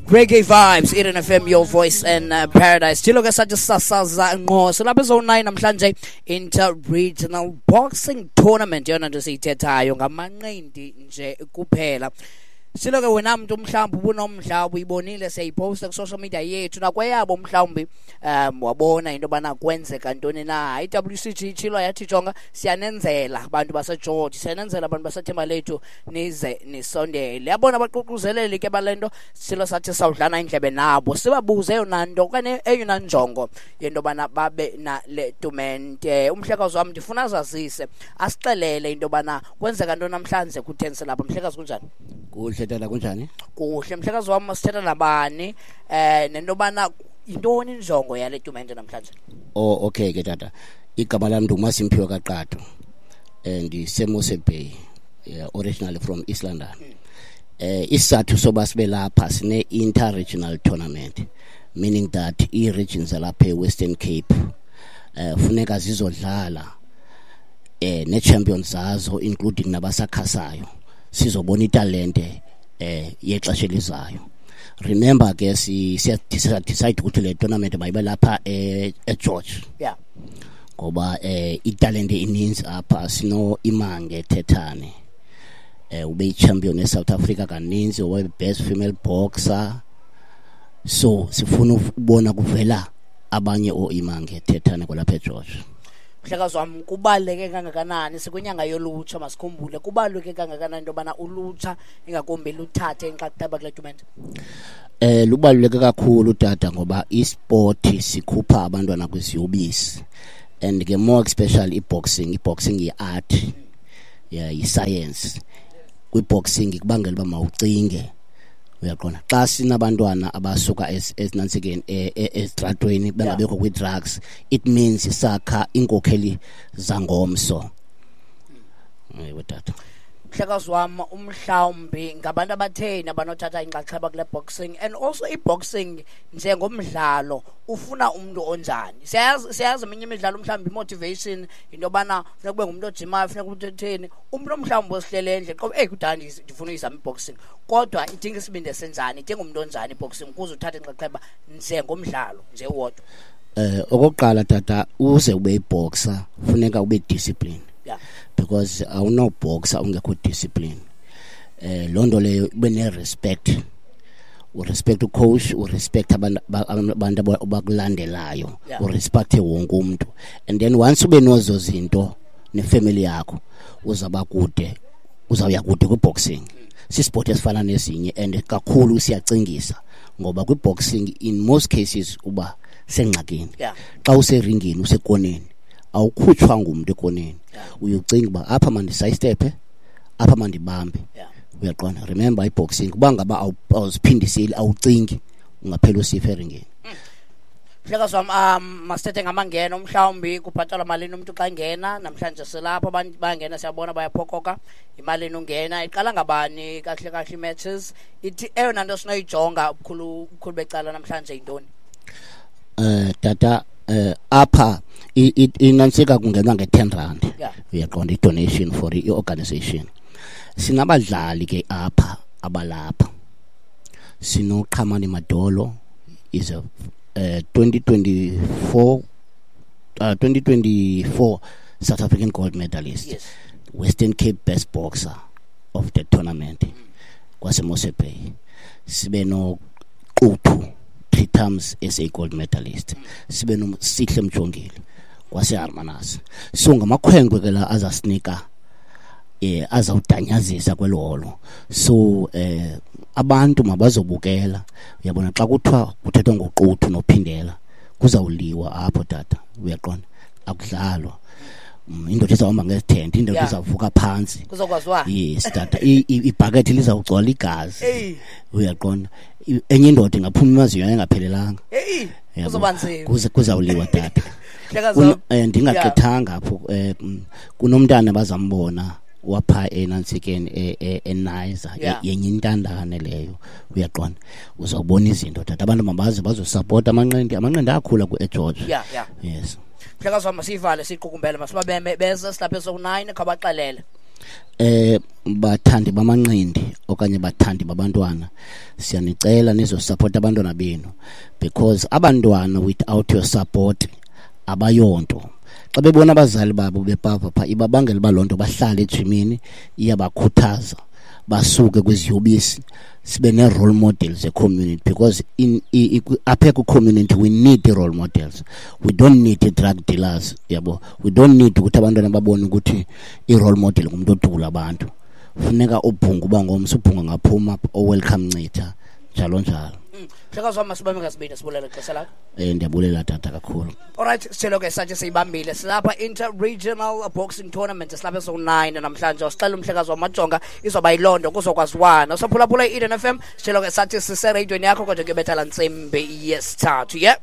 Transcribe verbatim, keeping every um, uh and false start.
Reggae vibes, Eden F M, your voice and uh, paradise. Thilo ke sathi sasaza ngqo. Silapha zone nine namhlanje, inter-regional boxing tournament, yona nto siyithethayo ngamanqindi nje kuphela. Silo ke wena mntu mhlawumbi ubunomdla, ubuyibonile siyayiposta ku-social media yethu nakweyabo, mhlawumbi um wabona into yobana kwenzeka ntoni na. I-W C G itshilo yathi, "Jonga, siyanenzela abantu baseGeorge, siyanenzela abantu baseThembalethu, nize nisondele." Yabona abaququzeleli ke bale nto, silo sathi sawudlana indlebe nabo, sibabuze eyona nto okanye eyona njongo yento yobana babe nale tumente. Umhlekazi wam ndifuna azazise, asixelele into yobana kwenzeka ntoni namhlanje, kutheni silapha. Mhlekazi, kunjani? Kuhle tata, kunjani? Kuhle, mhlekazi wam. Sithetha nabani eh nento yobana yintoni injongo yale tumente namhlanje? Oh, okay ke tata. Igama lam ndinguMasimphiwe kaQatho. Eh ndiseMossel Bay. Yeah, originally from East London. Eh isizathu soba sibe lapha, sine inter-regional tournament, meaning that i-regions zalapha eWestern Cape eh funeka zizodlala eh ne-champions zazo, including nabasakhasayo, sizobona italente eh yexesha elizayo. Remember ke si siya decide ukuthi le tournament mayibe lapha eh eGeorge yeah ngoba eh italente ininzi apha. Sino Imange Thethane, eh ube champion eSouth Africa kaninzi, wabe best female boxer, so sifuna ukubona kuvela abanye oImange Thethane kwalapha eGeorge. Mhlekazi wam, kubaluleke kangakanani, sikwinyanga yolutsha, masikhumbule, kubaluleke kangakanani into yobana ulutsha ingakumbi luthathe inxaxheba kule tumente? Eh lubaluleke kakhulu tata, ngoba isport sikhupha abantwana kwiziyobisi, and ke more especially iboxing. Iboxing yi-art, yeah, yi-science. Kwi-boxing kubangela uba mawucinge, uyaqonda? Xa sinabantwana abasuka ezinantsikeni, ezitratweni, bengabekho kwi-drugs, it means sakha iinkokheli zangomso. Ewe tata. Mhlekazi wam, umhlawumbi ngabantu abatheni abanothatha inxaxheba kule boxing, and also i-boxing njengomdlalo ufuna umntu onjani? Siyayazi, siyayazi eminye imidlalo mhlawumbi i-motivation yinto yobana funeka kube ngumntu ojimayo, funeka umntu etheni. Umntu mhlawumbi osihlele endle qobe, eyi, kudala ndifuna uyizama i-boxing, kodwa idinga isibindi esenjani, idinga umntu onjani i-boxing ukuze uthathe inxaxheba njengomdlalo nje wodwa? Eh okokuqala tata, uze ube yiboxer funeka ube discipline yeah because awunoboxer ungekho discipline. eh loo nto leyo ube ne-respect, urespect ucoach, urespect abantu abantu abakulandelayo, Yeah. urespecte wonke umuntu, and then once ube nozo zinto nefamily yakho, uzaba kude, uzawuya kude kwi-boxing. Sisport esifana nezinye and kakhulu siyacingisa, ngoba kwi-boxing in most cases uba sengxakini. Yeah xa useringini, usekoneni, awukhutshwa ngumntu ekoneni. Yeah. Uyocinga uba apha mandisayistephe, apha mandibambe, yeah uyaqonda? Remember, iboxing uba ngaba awu- awuziphindiseli, awucingi, ungaphela usifa eringini. Mhlekazi wam, um masithethe ngamangeno. Mhlawumbi kubhatalwa malini umntu xa engena namhlanje? Silapho, abantu bayangena, siyabona bayaphokoka. Imalini ungena? Iqala ngabani kahle kahle i-matches? Ithi eyona nto sinoyijonga ubukhulu ubukhulu becala namhlanje yintoni? eh tata eh apha i- i- inantsika kungenwa nge-ten rand, Yeah. uyaqonda, i-donation for i-organization. Sinabadlali ke apha abalapha. Sinoqhamani Madolo, is a uh, twenty twenty-four uh, twenty twenty-four South African gold medalist, yes Western Cape best boxer of the tournament kwaseMossel Bay. Sibe noQuthu, three times S A gold medalist. Sibe noSihle Mjongile kwaseHermanus. So ngamakhwenkwe ke la azasinika eh azawudanyazisa kwelo holo. So eh abantu mabazobukela. Uyabona, xa kuthiwa kuthethwa ngoQuthu noPhindela, kuzawuliwa apho tata, uyaqonda? Akudlalwa. Mm, indoda izawuhamba ngezithende, indoda Yeah. izawuvuka phantsi. Kuzokwaziwa. Yes tata, I- i- ibhakethi lizawugcwala igazi, Eyi. uyaqonda? I- enye indoda ingaphuma emazinyo engaphelelanga. Heyi. Yabo. Kuzoba nzima. Kuze kuzawuliwa tata. Mhlekazi Kuno- wam. eh, ndingagqithanga apho, eh mm, kunomntana bazambona wapha enantsikeni e- e- eNizer, Yeah. yenye intandane leyo, uyaqonda? Uzawubona izinto tata. Abantu mabaze bazosapota amanqindi. Amanqindi ayakhula ku-eGeorge. yeah yeah Yes. Mhlekazi wam, masiyivale, siyiqukumbele. Masibabeme beze, silapha esoku-nine, khabaxelele. Eh bathandi bamanqindi okanye bathandi babantwana, siyanicela nizosupport abantwana benu, because abantwana without your support abayonto. Xa bebona abazali babo bepapa pha, ibabangela uba loo nto bahlale ejimini, iyabakhuthaza basuke kwiziyobisi, sibe nee-role models e-community, because in apha kwi-community we need i-role models, we don't need i-drug dealers, yabo. We don't need ukuthi abantwana babone ukuthi i-role model ngumntu odubula abantu. Funeka ubhunga uba ngomso ubhunga ngaphuma o-Welcome Ncitha, njalo njalo. Mhlekazi wam, masibambe ngasibini, sibulele ixesha lakho. um ndiyabulela tata kakhulu. Alright, sithelo ke sathi siyibambile. Silapha Inter-Regional Boxing Tournament, silapha ezo nine namhlanje. Usixela umhlekazi wamajonga izoba yiloo nto kuzokwaziwana. Usaphulaphula i-Eden F M, sithelo ke sathi sisereyidweni yakho, kodwa kuyobetha laa ntsimbi yesithathu. Yeah.